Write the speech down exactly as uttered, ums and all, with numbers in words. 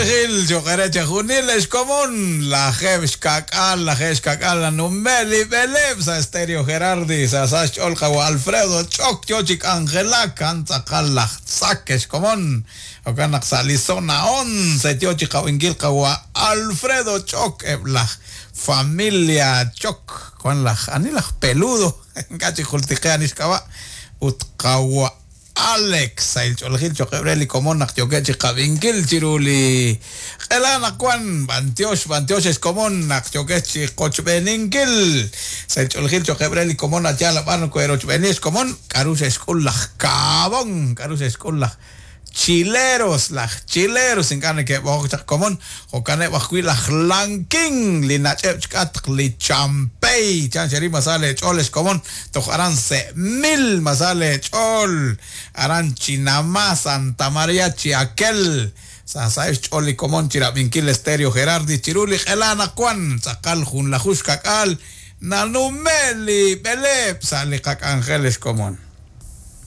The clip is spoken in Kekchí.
ch'oolejil cho'q re chejunil ex komon lajeeb' xka'k'aal lajeeb' xka'k'aal nanume' li b'eleeb' sa' Stereo Gerardi sa' sa xch'ool qawa Alfredo Ch'ok yo chi k'anjelak kan tz'aqal laj tzak ex komon jo'kan naq sa' li zona once yo chi qawinkil qawa Alfredo Ch'ok eb' laj familia Chok wan laj ani laj peludo ink'a' chi jultiqe ani xk'ab'a' ut qawa Alex sa' ilch'oolejil cho'q re li komon naq yookeb' chi qab'inkil chiru li q'ela naq wan b'antiox b'antiox ex komon naq yookeb' chi qochb'eeninkil sa' ilch'oolejil cho'q re li komon atyaal ab'an koerochb'eeni ex komon k'aru xe'xk'ul laj Kaabon k'aru xe'xk'ul laj Chileros, laj chileros ink'a' neke'b'oqok chaq komon jo'kaneb' ajwi' laj Lankin li nach'eb' chk'atq li champey chan xeri masal ch'ool ex komon toj aran se mil masal ch'ool aran Chinamá Santa María Chiaquel sa sa xch'ool li komon chirab'inkil Stereo Gerardi chiru li q'ela naq wan tz'aqal junlaju xka'k'aal nanume' li b'eleeb' sa' li qak'anjel ex komon.